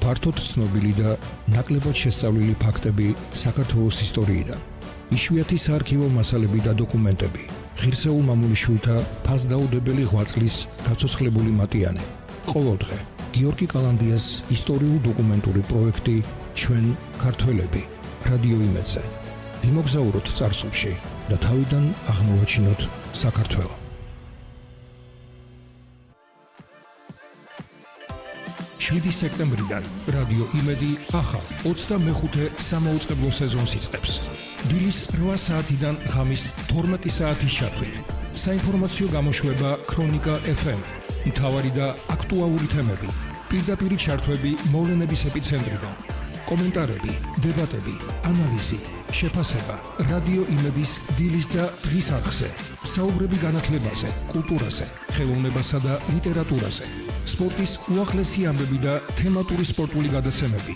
ფართოდ ცნობილი და ნაკლებად შესწავლილი ფაქტები საქართველოს ისტორიიდან. იშვიათი საარქივო მასალები და დოკუმენტები. ღირსეულ მამულიშვილთა ფასდაუდებელი ღვაწლის გაცოცხლებული მატიანე. ყოველდღე გიორგი კალანდიას ისტორიულ-დოკუმენტური პროექტი ჩვენ ქართველები რადიო იმედზე. ვიმოგზაუროთ წარსულში და თავიდან აღმოვაჩინოთ საქართველო. 7 სექტემბრიდან რადიო იმედი ახალ 25 სამაუწყებლო სეზონს იწყებს. დილის 8 საათიდან ღამის 12 საათის ჩათვლით. საინფორმაციო გამოშვება ქრონიკა FM. მთავარი და აქტუალური თემები. პირდაპირი ჩართვები მოვლენების ეპიცენტრიდან. კომენტარები, დებატები, ანალიზი, შეფასება. რადიო იმედის დილის და დღის არხზე. საუბრები განათლებაზე, კულტურაზე, ხელოვნებასა და ლიტერატურაზე. სპორტის უახლესი ამბები და თემატური სპორტული გადაცემები.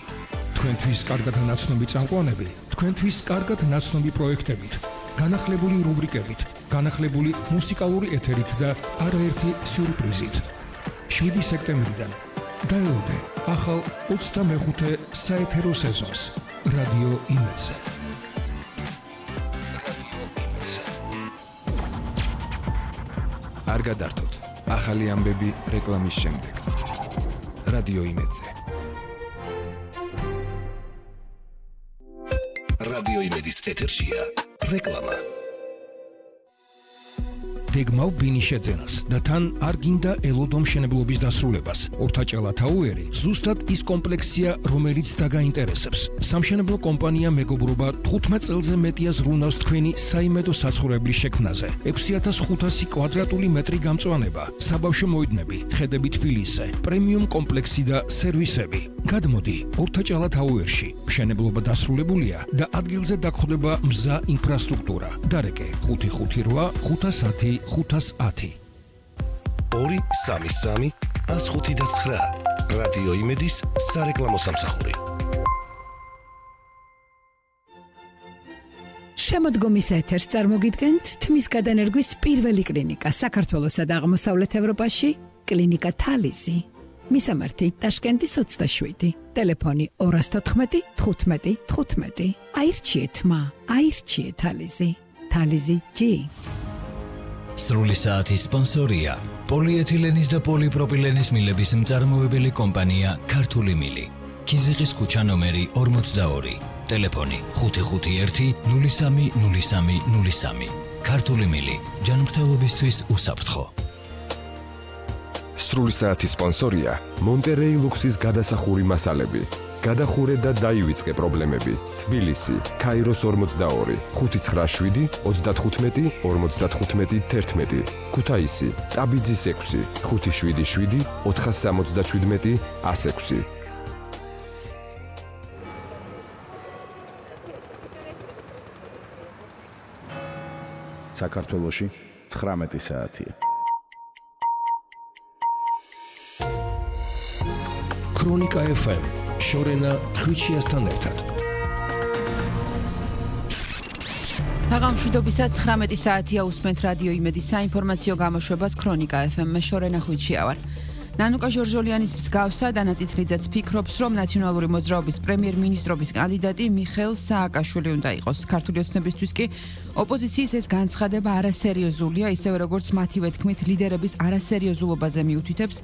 თქვენთვის კარგად ნაცნობი წამყვანები, თქვენთვის კარგად ნაცნობი პროექტებით, განახლებული რუბრიკებით, განახლებული მუსიკალური ეთერით და არაერთი სიურპრიზით. 7 სექტემბრიდან დაელოდე ახალ 25 საეთერო სეზონს რადიო იმედზე. არ გადართოთ ახალი ამბები რეკლამის შემდეგ. რადიო იმედზე. რადიო იმედის ეთერშია რეკლამა. გეგმავ ბინის შეძენას და თან არ გინდა ელოდო მშენებლობის დასრულებას. ორთაჭალა თაუერი ზუსტად ის კომპლექსია, რომელიც დაგაინტერესებს. სამშენებლო კომპანია მეგობრობა 15 წელზე მეტია ზრუნავს თქვენი საიმედო საცხოვრებლის შექმნაზე. 6500 კვადრატული მეტრი გამწვანება, საბავშვო მოედნები, ხედები თბილისზე, პრემიუმ კომპლექსი და სერვისები. გადმოდი ორთაჭალა თაუერში. მშენებლობა დასრულებულია და ადგილზე დაგხვდება მზა ინფრასტრუქტურა. დარეკე 558 510 510. 233 105 რადიო იმედის სარეკლამო სამსახური. შემოდგომის ეთერს წარმოგიდგენთ თმის გადანერგვის პირველი კლინიკა საქართველოსა და აღმოსავლეთ ევროპაში, კლინიკა თალიზი. მისამართი ტაშკენტის 27, ტელეფონი 214 15 15. აირჩიეთ მა, აირჩიეთ თალიზი. თალიზი G. სრული საათის სპონსორია პოლიეთილენის და პოლიპროპილენის მილების მწარმოებელი კომპანია ქართული მილი. ქიზიყის ქუჩა ნომერი 42, ტელეფონი 551 03 03 03. ქართული მილი, ჯანმრთელობისთვის უსაფრთხო. სრული საათის სპონსორია მონტერეი ლუქსის გადასახური მასალები. გადახურე და დაივიწყე პრობლემები. თბილისი, ქაიროს 42, 597 35 55 11. ქუთაისი, ტაბიძის 6, 577 477 106. საქართველოში 19 საათია. ქრონიკა FM შორენა ხვიჩიასთან ერთად. თაღამშვიდობისა 19 საათია უსმენთ რადიო იმედის საინფორმაციო გამოშვებას ქრონიკა FM-ში შორენა ხვიჩია ვარ. ნანუკა ჟორჟოლიანის მსგავსად ანაწითლიძეც ფიქრობს, რომ ნაციონალური მოძრაობის პრემიერ-მინისტრობის კანდიდატი მიხეილ სააკაშვილი უნდა იყოს. ქართული ოცნებისთვის კი ოპოზიციის ეს განცხადება არასერიოზულია, ისევე როგორც მათივე თქმით ლიდერების არასერიოზულობაზე მიუთითებს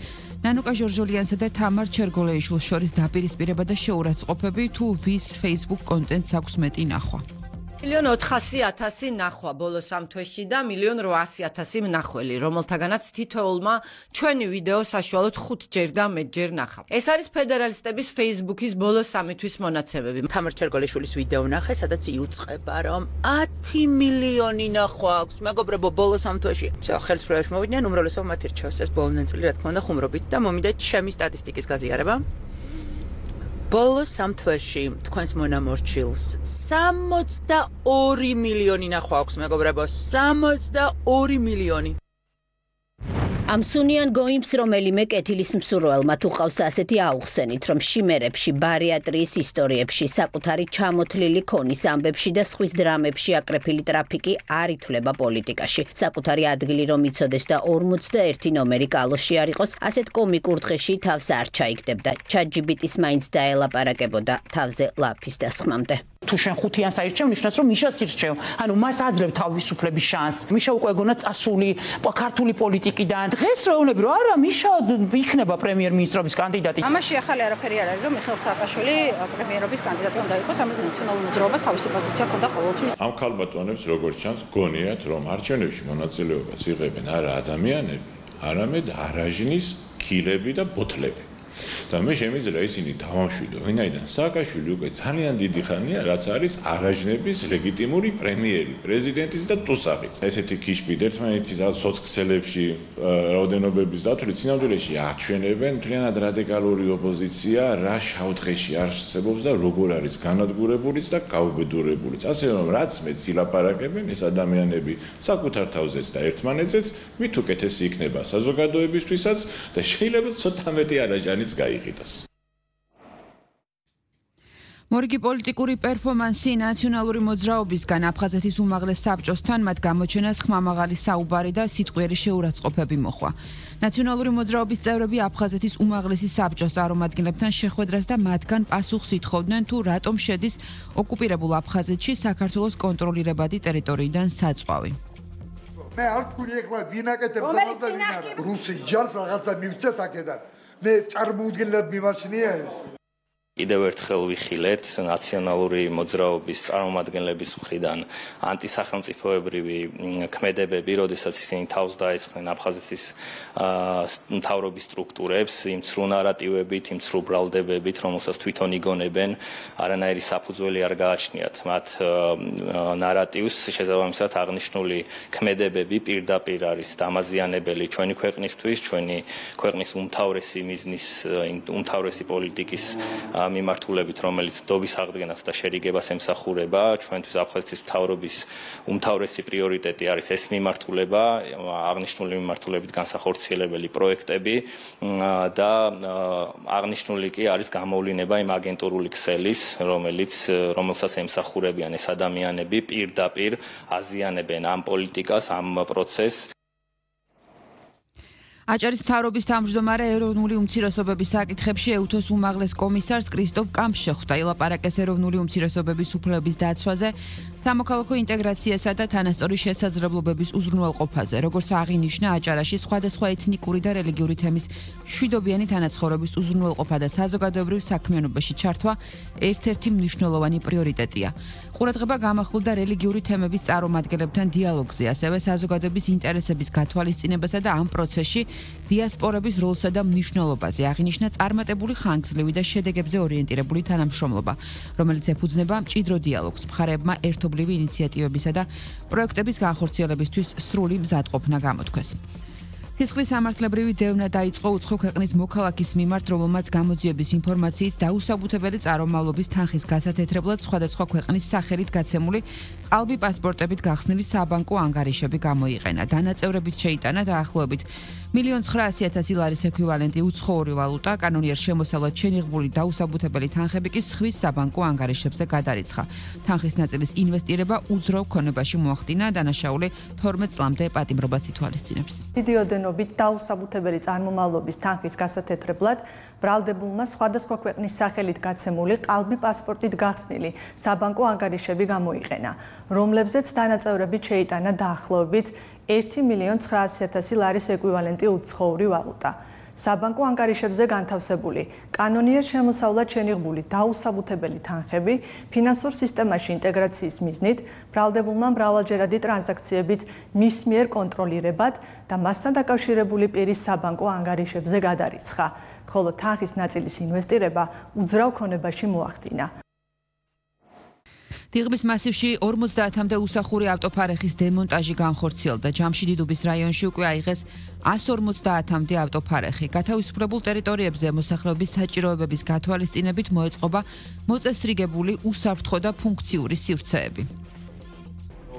ნანუკა ჟორჟოლიანსა და თამარ ჩერგოლეიშვილს შორის დაპირისპირება და შეურაცხყოფები, თუ ვის Facebook კონტენტს აქვს მეტი ნახვა. 1,400,000 ნახვა ბოლოს ამ თვეში და 1,800,000 მნახველი, რომელთაგანაც თითოეულმა ჩვენი ვიდეო საშუალოდ 5 ჯერ და მეტჯერ ნახა. ეს არის ფედერალისტების Facebook-ის ბოლოს 3 თვის მონაცემები. თამარ ჩერგოლეიშვილის ვიდეო ნახე, სადაც იუწყება, რომ 10 მილიონი ნახვა აქვს. მეგობრებო, ბოლოს ამ თვეში. ხელს პროექტში მოვიდნენ, უმრავლესობა მათ ირჩევს ეს ბოლო ნაწილი, რა თქმა უნდა, ხუმრობით და მომიდა ჩემი სტატისტიკის გაზიარება. ბოლოს ამ თვეში თქვენს მონამორჩილს 62 მილიონი ნახვა აქვს, მეგობრებო, 62 მილიონი. Ამ სუნიან გოიმს რომელიმე კეთილის მსურველმა თუ ყავს ასეთი აუხსენით, რომ შიმერებში, ბარიატრიის ისტორიებში, საკუთარი ჩამოთლილი ქონის ამბებში და სხვის დრამებში აკრეფილი ტრაფიკი არ ითვლება პოლიტიკაში. საკუთარი ადგილი რომ იცოდეს და 41 ნომერი კალოში არ იყოს, ასეთ კომიკურ დღეში თავს არ ჩაიგდებდა. ChatGPT-ს მაინც დაელაპარაკებოდა თავზე ლაფის დასხმამდე. თუ შენ ხუთიანს აირჩევ, ნიშნავს რომ მიშას ირჩევ. ანუ მას აძლევ თავისუფლების შანსს. მიშა უკვე გონა წასული ქართული პოლიტიკიდან. დღეს რეუნები რომ არა, მიშა იქნება პრემიერ-მინისტრობის კანდიდატი. ამაში ახალი არაფერი არ არის, რომ მიხეილ სააკაშვილი პრემიერობის კანდიდატი უნდა იყოს, ამაზე ნაციონალურ მოძრაობას თავისი პოზიცია ჰქონდა ყოველთვის. ამ ქალბატონებს როგორც ჩანს, გონიათ რომ არჩევნებში მონაწილეობას იღებენ არა ადამიანები, არამედ არაჟნის ქილები და ბოთლები. და მე შემიძლია ისინი დავამშვიდო, ვინაიდან სააკაშვილი უკვე ძალიან დიდი ხანია, რაც არის არაჟნების ლეგიტიმური პრემიერი, პრეზიდენტის და ტუსაღის. ესეთი ქიშბი ერთმანეთის სოციალებში რაოდენობების დათვლით სინამდვილეში აჩვენებენ მთლიანად რადიკალური ოპოზიცია, რა შავდღეში არსებობს და როგორ არის განადგურებულიც და გაუბედურებულიც. ასე რომ რაც მეც ილაპარაკებენ ეს ადამიანები საკუთარ თავზეც და ერთმანეთზეც, მით უკეთესი იქნება საზოგადოებისთვისაც და შეიძლება ცოტა მეტი არაჟანი გაიყიდოს. მორიგი პოლიტიკური პერფორმანსი ნაციონალური მოძრაობისგან აფხაზეთის უმაღლეს საბჭოსთან მათ გამოჩენას ხმამაღალი საუბარი და სიტყვიერი შეურაცხყოფები მოხვა. ნაციონალური მოძრაობის წევრები აფხაზეთის უმაღლესი საბჭოს წარმომადგენლებთან შეხვედრას და მათგან პასუხს ითხოვდნენ თუ რატომ შედის ოკუპირებულ აფხაზეთში საქართველოს კონტროლირებადი ტერიტორიიდან საწვავი. მე არ ვთქვი ეხლა ვინაკეთებ და ვინ არა. რუსი ჯარს რაღაცა მივცეთ აქედან. მე წარმოუდგენლად მიმაჩნია ეს. კიდევ ერთხელ ვიხილეთ ნაციონალური მოძრაობის წარმომადგენლების მხრიდან ანტისახელმწიფოებრივი ქმედებები, როდესაც ისინი თავს დაესხნენ აფხაზეთის მთავრობის სტრუქტურებს, იმ ცრუ ნარატივებით, იმ ცრუ ბრალდებებით, რომელსაც თვითონ იგონებენ, არანაირი საფუძველი არ გააჩნიათ მათ ნარატივს, შესაბამისად აღნიშნული ქმედებები პირდაპირ არის დამაზიანებელი ჩვენი ქვეყნისთვის, ჩვენი ქვეყნის უმთავრესი მიზნის, უმთავრესი პოლიტიკის მიმართულებით, რომელიც დობის აღდგენას და შერიგებას ემსახურება, ჩვენთვის აფხაზეთის მთავრობის უმთავრესი პრიორიტეტი არის ეს მიმართულება, აღნიშნული მიმართულებით განსახორციელებელი პროექტები და აღნიშნული კი არის გამოვლინება იმ აგენტურული ქსელის, რომელსაც ემსახურებიან ეს ადამიანები, პირდაპირ აზიანებენ ამ პოლიტიკას, ამ პროცესს. აჭარის მთავრობის თავმჯდომარე ეროვნული უმცირესობების საკითხებში ეუთოს უმაღლეს კომისარს კრისტოფ კამპს შეხვდა. ილაპარაკეს ეროვნული უმცირესობების უფლებების დაცვაზე, სამოქალაქო ინტეგრაციასა და თანასწორი შესაძლებლობების უზრუნველყოფაზე. როგორც აღინიშნა, აჭარაში სხვადასხვა ეთნიკური და რელიგიური თემის მშვიდობიანი თანაცხოვრების უზრუნველყოფა და საზოგადოებრივ საქმიანობაში ჩართვა ერთ-ერთი მნიშვნელოვანი პრიორიტეტია. ყურადღება გამახვილდა რელიგიური თემების წარმომადგენლებთან დიალოგზე, ასევე საზოგადოების ინტერესების გათვალისწინებასა და ამ პროცესში დიასპორების როლსა და მნიშვნელობაზე. აღინიშნა წარმატებული ხანგრძლივი და შედეგებზე ორიენტირებული თანამშრომლობა, რომელიც ეფუძნება მჭიდრო დიალოგს, მხარეებმა ერთობლივი ინიციატივებისა და პროექტების განხორციელებისთვის სრული მზადყოფნა გამოთქვეს. სისხლის სამართლებრივი დევნა დაიწყო უცხო ქვეყნის მოქალაქის მიმართ, რომელმაც გამოძიების ინფორმაციით დაუსაბუთებელი წარმომავლობის თანხის გასათეთრებლად სხვადასხვა ქვეყნის სახელით გაცემული ყალბი პასპორტებით გახსნილი საბანკო ანგარიშები გამოიყენა. დანაწევრებით შეიტანა დაახლოებით 1,900,000 ლარის ექვივალენტი უცხოური ვალუტა, კანონიერ შემოსავლად შენიღბული დაუსაბუთებელი თანხები კი სხვის საბანკო ანგარიშებზე გადარიცხა. თანხის ნაწილის ინვესტირება უძრავ ქონებაში მოახდინა, დანაშაული 12 წლამდე პატიმრობას ითვალისწინებს. დიდი ოდენობით დაუსაბუთებელი წარმომავლობის თანხის გასათეთრებლად ბრალდებულმა სხვადასხვა ქვეყნის სახელით გაცემული ყალბი პასპორტით გახსნილი საბანკო ანგარიშები გამოიყენა, რომლებზეც დანაწევრებით შეიტანა დაახლოებით 1,900,000 ლარის ეკვივალენტი უცხოური ვალუტა. საბანკო ანგარიშებზე განთავსებული კანონიერ შემოსავლად შენიღბული დაუსაბუთებელი თანხები ფინანსურ სისტემაში ინტეგრაციის მიზნით ბრალდებულმა მრავალჯერადი ტრანზაქციებით მის მიერ კონტროლირებად და მასთან დაკავშირებული პირის საბანკო ანგარიშებზე გადარიცხა, ხოლო თანხის ნაწილის ინვესტირება უძრავ ქონებაში მოახდინა. დიღმის მასივში 50-მდე უსახური ავტოფარეხის დემონტაჟი განხორციელდა. ჯამშიდიდუბის რაიონში უკვე აიღეს 150-მდე ავტოფარეხი. გათავისუფლებულ ტერიტორიებზე მოსახლეობის საჭიროებების გათვალისწინებით მოეწყობა მოწესრიგებული უსაფრთხო და ფუნქციური სივრცეები.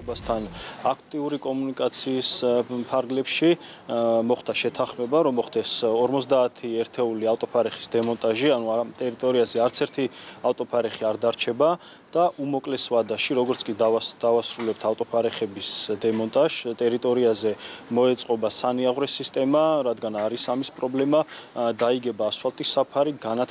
მთავრობასთან აქტიური კომუნიკაციის ფარგლებში მოხდა შეთანხმება, რომ მოხდეს 50 ერთეული ავტოფარეხის დემონტაჟი, ანუ ტერიტორიაზე არც ერთი ავტოფარეხი არ დარჩება და უმოკლეს ვადაში, როგორც კი დავასრულებთ ავტოფარეხების დემონტაჟს, ტერიტორიაზე მოეწყობა სანიაღვრე სისტემა, რადგან არის ამის პრობლემა, დაიგება ასფალტის საფარი, განათდება